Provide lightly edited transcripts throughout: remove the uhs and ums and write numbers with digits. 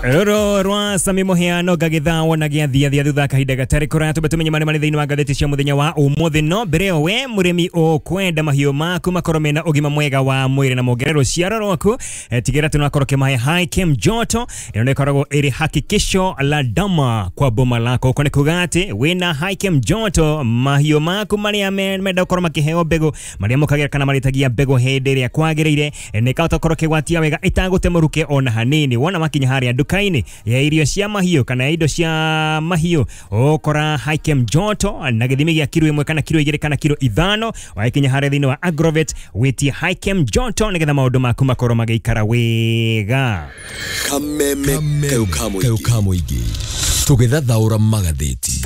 Rũrũ rwa Sami Mũheano ngagĩthao na gĩathiathia thutha kahinda gatarĩ kũraya tũbe tũmenye marĩa marĩ thĩinĩ wa ngathĩti cia mũthenya wa ũmũthĩ. No mbere ĩyo, we mũrĩmi ũkwenda mahiũ maku makorwo mena ũgima mwega wa mwĩrĩ na mongerere rũciaro rwaku, tigĩrĩra atĩ nĩwakorwo ũkĩmahe Hikem Joto. Ĩno nĩ ĩkoragwo ĩrĩ hakikisho la dama kwa boma lako. Uko nĩ kuga atĩ wĩna Hikem Joto, mahiũ maku marĩa menda gũkorwo makĩheo mbegũ, marĩa mũkagĩra kana marĩtagia mbegũ hĩndĩ ĩrĩa kwagĩrĩire, nĩ kahota gũkorwo kĩgwatia wega ĩtagũte mũrukĩ ona hanini. Wona makinya harĩa nduka-inĩ ya irio cia mahiũ kana ya indo cia mahiũ, ũkora Hikem Joto na gĩthimi gĩa kiro 1 kana kiro 2 kana kiro 5. Wakinya harĩa thĩinĩ wa Agrovet, wĩtie Hikem Joto nĩgetha maũndũ maku makorwo magĩikara wega. Kameme kayũ ka mũingĩ tũgĩthathaũra magathĩti.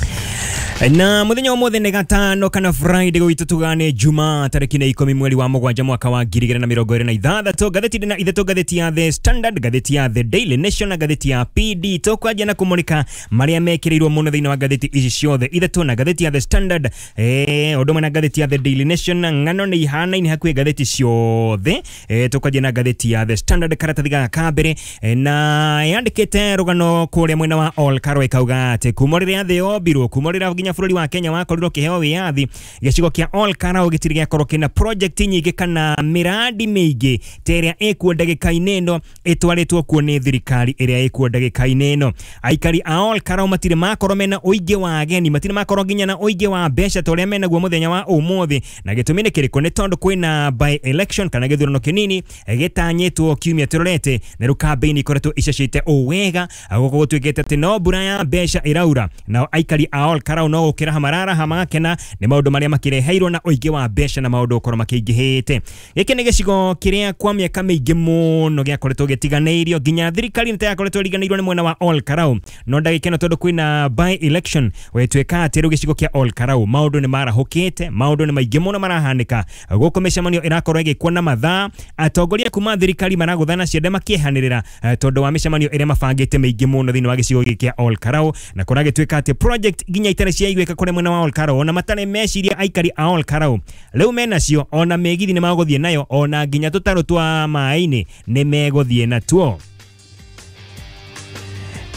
Na muthenya ũmũthĩ nĩ gatano kana Friday, gwitũ tugane Juma tarĩki nĩ 10 mweri wa 7 mwaka wa 2026. Ngathĩti ndĩ na ithatũ: ngathĩti ya The Standard, ngathĩti ya The Daily Nation na ngathĩti ya PD. Tũkwanjia na kũmũrĩka marĩa mekĩrĩirwo mũno thĩinĩ wa ngathĩti ici ciothe ithatũ. Na ngathĩti ya The Standard, ũndũ ũmwe na ngathĩti ya The Daily Nation, ng'ano nĩ ihanaine hakuhĩ ngathĩti ciothe. Tũkwanjia na ngathĩti ya The Standard, karatathi gaka ka mbere, na yandĩkĩte rũgano kũrĩa mwena wa Ol Kalou, ĩkauga atĩ kuma rĩrĩa thĩ yombirwo, kuma rĩrĩa nginya bũrũri wa Kenya wakorirwo ũkĩheo wĩyathi, gĩcigo kĩa Ol Kalou gĩtirĩ gĩakorwo kĩna project nyingĩ kana mĩradi mĩingĩ ta ĩrĩa ĩkuo ndagĩka-inĩ ĩno, ĩtwarĩtwo kuo nĩ thirikari ĩrĩa ĩkuo ndagĩka-inĩ ĩno. Aikari a Ol Kalou matirĩ makorwo mena ũingĩ wa ageni, matirĩ makorwo nginya na ũingĩ wa mbeca ta ũrĩa menaguo mũthenya wa ũmũthĩ. Na gĩtũmi nĩ kĩrĩkũ? Nĩ tondũ kwĩna by election kana gĩthurano kĩnini gĩtanyĩtwo kiumia tũrorete, na rĩu kambĩini ikoretwo icacĩte o wega. Gũkũ gũtuĩkĩte atĩ no mbura ya mbeca ĩraura, nao aikari a Ol Kalou no gũkĩraha mararaha magakena nĩ maũndũ marĩa makĩreheirwo na ũingĩ wa mbeca na maũndũ gũkorwo makĩingĩhĩte. Gĩkĩ nĩ gĩcigo kĩrĩa kwa mĩaka mĩingĩ mũno gĩakoretwo gĩtiganĩirio, nginya thirikari nĩ yakoretwo ĩriganĩirwo nĩ mwena wa Ol Kalou. No ndagĩka ĩno, tondũ kwĩna by election, gwĩtuĩka atĩ rĩu gĩcigo kĩa Ol Kalou maũndũ nĩ marahũkĩte, maũndũ nĩ maingĩ mũno marahanĩka gũkũ. Mĩcemanio ĩrakorwo ĩgĩkwo na mathaa, atongoria kuma thirikari maragũthana ciande makĩehanĩrĩra, tondũ wa mĩcemanio ĩrĩa mabangĩte mĩingĩ mũno thĩinĩ wa gĩcigo gĩkĩ kĩa Ol Kalou. Na kũragĩtuĩka atĩ project nginya itarĩ ciaiguĩka kũrĩa mwena wa Ol Kalou, ona matarĩ meciria aikari a Ol Kalou, rĩu menacio. Ona mĩgithi nĩ magũthiĩ nayo, ona nginya tũtarũ twa maĩ-inĩ nĩ megũthiĩ natuo.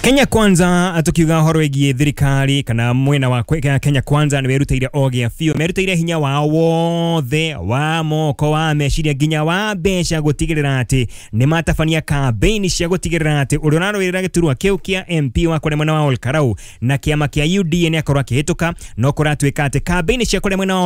Kenya Kwanza, tukiuga horo wĩgiĩ thirikari kana mwena wa Kenya Kwanza, nĩ werutĩire o gĩa biũ, merutĩire hinya wao wothe wa moko, wa meciria, nginya wa mbeca gũtigĩrĩra atĩ nĩ matabania kambĩini cia gũtigĩrĩra atĩ ũrĩa ũrarũĩrĩra gĩturwa kĩu kĩa MP wa kũrĩa mwena wa Ol Kalou na kĩama kĩa UDA nĩ akorwo akĩhĩtũka. No kũratuĩka atĩ kambĩini cia kũrĩa mwena wa